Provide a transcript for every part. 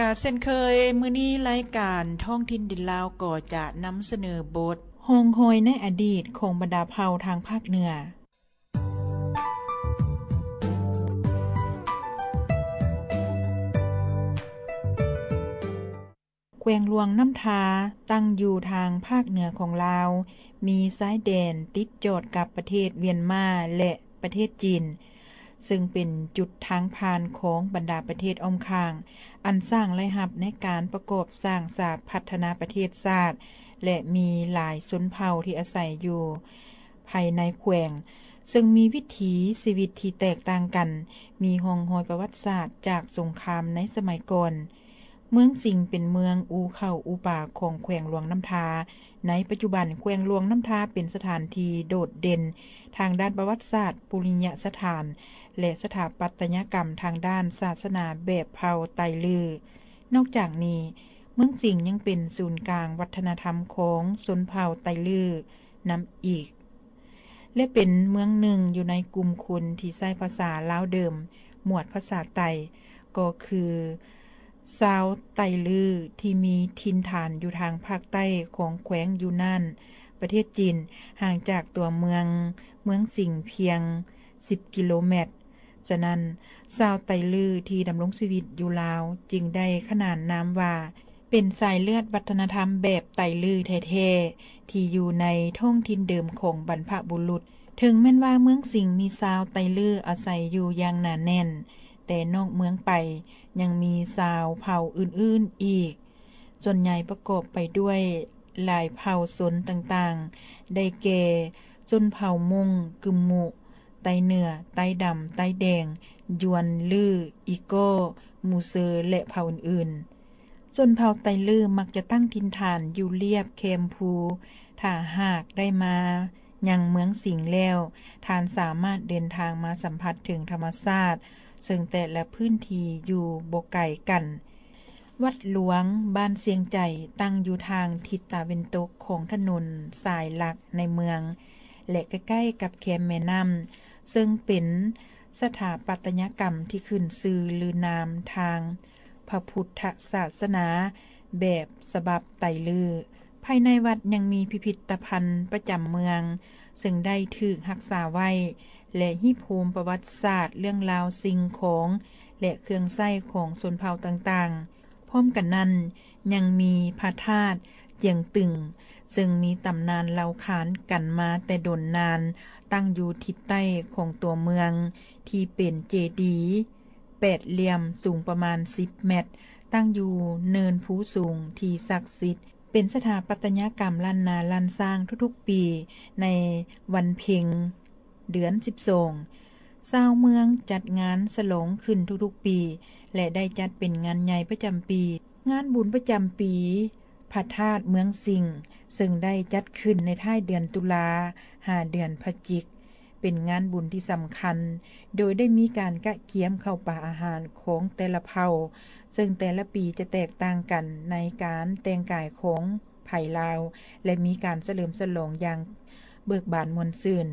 ກະເຊັ່ນເຄີຍ ມື້ນີ້ລາຍການທ້ອງຖິ່ນດິນລາວກໍຈະນຳສະເໜີບົດ ຮ່ອງຮອຍໃນອະດີດຂອງບັນດາເຜົ່າທາງພາກເໜືອ. ແຂວງຫຼວງນ້ຳທາ ຕັ້ງຢູ່ທາງພາກເໜືອຂອງລາວ, ມີຊາຍແດນຕິດຈອດກັບປະເທດຫວຽນມາ ແລະ ປະເທດຈີນ, ເຊິ່ງເປັນຈຸດທາງຜ່ານຂອງບັນດາປະເທດອ້ອມຂ້າງ, ອັນສ້າງລາຍຮັບໃນການປະກອບສ້າງສາພັດທະນາປະເທດຊາດ ແລະ ມີຫຼາຍຊົນເຜົ່າທີ່ອາໄສຢູ່ພາຍໃນແຂວງ, ເຊິ່ງມີວິຖີຊີວິດທີ່ແຕກຕ່າງກັນ, ມີຮ່ອງຮອຍປະຫວັດສາດຈາກສົງຄາມໃນສະໄໝກ່ອນ. ເມືອງສິງເປັນເມືອງອູ່ເຂົ້າອູ່ປາຂອງແຂວງຫຼວງນ້ຳທາ. ໃນປັດຈຸບັນ, ແຂວງຫຼວງນ້ຳທາເປັນສະຖານທີ່ໂດດເດັ່ນທາງດ້ານປະຫວັດສາດ, ປຸລິຍະສະຖານ ແລະ ສະຖາປັດຕະຍະກຳທາງດ້ານສາສະໜາແບບເຜົ່າໄຕລື. ນອກຈາກນີ້, ເມືອງສິງຍັງເປັນສູນກາງວັດທະນະທຳຂອງຊົນເຜົ່າໄຕລືນຳອີກ. ແລະ ເປັນເມືອງໜຶ່ງຢູ່ໃນກຸ່ມຄົນທີ່ໃຊ້ພາສາລາວເດີມ, ໝວດພາສາໄຕ, ກໍຄືຊາວໄຕລືທີ່ມີຖິ່ນຖານຢູ່ທາງພາກໃຕ້ຂອງແຂວງຢູນານ, ປະເທດຈີນ, ຫ່າງຈາກຕົວເມືອງ, ເມືອງສິງພຽງສິບກິໂລແມັດ. ສະນັ້ນ, ຊາວໄຕລືທີ່ດຳລົງຊີວິດຢູ່ລາວຈຶ່ງໄດ້ຂນານນາມວ່າ ເປັນສາຍເລືອດວັດທະນະທຳແບບໄຕລືແທ້ໆ ທີ່ຢູ່ໃນທ້ອງຖິ່ນເດີມຂອງບັນພະບຸລຸດ. ເຖິງແມ່ນວ່າເມືອງສິງມີຊາວໄຕລືອາໄສຢູ່ຢ່າງໜາແໜ້ນ, ແຕ່ນອກເມືອງໄປຍັງມີຊາວເຜົ່າອື່ນໆອີກ, ສ່ວນໃຫຍ່ປະກອບໄປດ້ວຍຫຼາຍເຜົ່າຊົນຕ່າງໆ ໄດ້ແກ່ ຊົນເຜົ່າມົ້ງ, ກຶມມຸ, ໄຕເໜືອ, ໄຕດຳ, ໄຕແດງ, ຢວນ, ລື, ອີກໍ, ມູເຊີ ແລະ ເຜົ່າອື່ນໆ. ຊົນເຜົ່າໄຕລືມັກຈະຕັ້ງຖິ່ນຖານຢູ່ລຽບແຄມພູ. ຖ້າຫາກໄດ້ມາຍັງເມືອງສິງແລ້ວ, ທ່ານສາມາດເດີນທາງມາສຳຜັດເຖິງທຳມະຊາດ, ເຊິ່ງແຕ່ລະພື້ນທີ່ຢູ່ບໍ່ໄກກັນ. ວັດຫຼວງບ້ານຊຽງໃຈ ຕັ້ງຢູ່ທາງທິດຕາເວັນຕົກຂອງຖະໜົນສາຍຫຼັກໃນເມືອງ ແລະ ໃກ້ໆກັບແຄມແມ່ນ້ຳ, ເຊິ່ງເປັນສະຖາປັດຕະຍະກຳທີ່ຂຶ້ນຊື່ລືນາມທາງພະພຸດທະສາສະໜາແບບສະບັບໄຕລື. ພາຍໃນວັດຍັງມີພິພິດຕະພັນປະຈຳເມືອງ, ເຊິ່ງໄດ້ຖືກຮັກສາໄວ້ ແລະ ຮີບໂຮມປະຫວັດສາດເລື່ອງລາວສິ່ງຂອງ ແລະ ເຄື່ອງໃຊ້ຂອງຊົນເຜົ່າຕ່າງໆ. ພ້ອມກັນນັ້ນ, ຍັງມີພະທາດຈຽງຕຶງ, ເຊິ່ງມີຕຳນານເລົ່າຂານກັນມາແຕ່ດົນນານ, ຕັ້ງຢູ່ທິດໃຕ້ຂອງຕົວເມືອງ, ທີ່ເປັນເຈດີແປດຫຼ່ຽມສູງປະມານສິບແມັດ, ຕັ້ງຢູ່ເນີນພູສູງທີ່ສັກສິດ, ເປັນສະຖາປັດຕະຍະກຳລ້ານນາລ້ານຊ້າງທຸກໆປີໃນວັນເພັງ ເດືອນສິບສອງ. ຊາວເມືອງຈັດງານສະຫຼອງຂຶ້ນທຸກໆປີ ແລະ ໄດ້ຈັດເປັນງານໃຫຍ່ປະຈຳປີ. ງານບຸນປະຈຳປີພະທາດເມືອງສິງ, ເຊິ່ງໄດ້ຈັດຂຶ້ນໃນທ້າຍເດືອນຕຸລາ ຫາເດືອນພະຈິກ, ເປັນງານບຸນທີ່ສຳຄັນ, ໂດຍໄດ້ມີການກະກຽມເຂົ້າປາອາຫານຂອງແຕ່ລະເຜົ່າ, ເຊິ່ງແຕ່ລະປີຈະແຕກຕ່າງກັນໃນການແຕ່ງກາຍຂອງ ໄທລາວ ແລະ ມີການສະເຫຼີມສະຫຼອງຢ່າງເບີກບານມ່ວນຊື່ນ.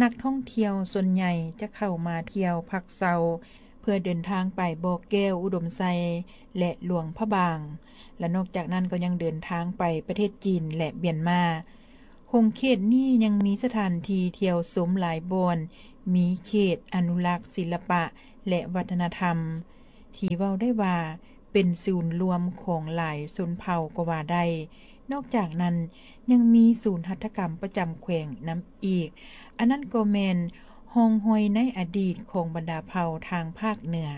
ນັກທ່ອງທ່ຽວສ່ວນໃຫຍ່ຈະເຂົ້າມາທ່ຽວພັກເຊົາ ເພື່ອເດີນທາງໄປບໍ່ແກ້ວ, ອຸດົມໄຊ ແລະ ຫຼວງພະບາງ, ແລະ ນອກຈາກນັ້ນກໍຍັງເດີນທາງໄປປະເທດຈີນ ແລະ ຫວຽນມາ. ຂົງເຂດນີ້ຍັງມີສະຖານທີ່ທ່ຽວຊົມຫຼາຍບ່ອນ, ມີເຂດອະນຸລັກສິລະປະ ແລະ ວັດທະນະທຳ ທີ່ເວົ້າໄດ້ວ່າ ເປັນສູນລວມຂອງຫຼາຍຊົນເຜົ່າກໍວ່າໄດ້. ນອກຈາກນັ້ນ, ຍັງມີສູນຫັດຖະກຳປະຈຳແຂວງນຳອີກ. ອັນນັ້ນກໍແມ່ນຮ່ອງຮອຍໃນອະດີດຂອງບັນດາເຜົ່າທາງພາກເໜືອ.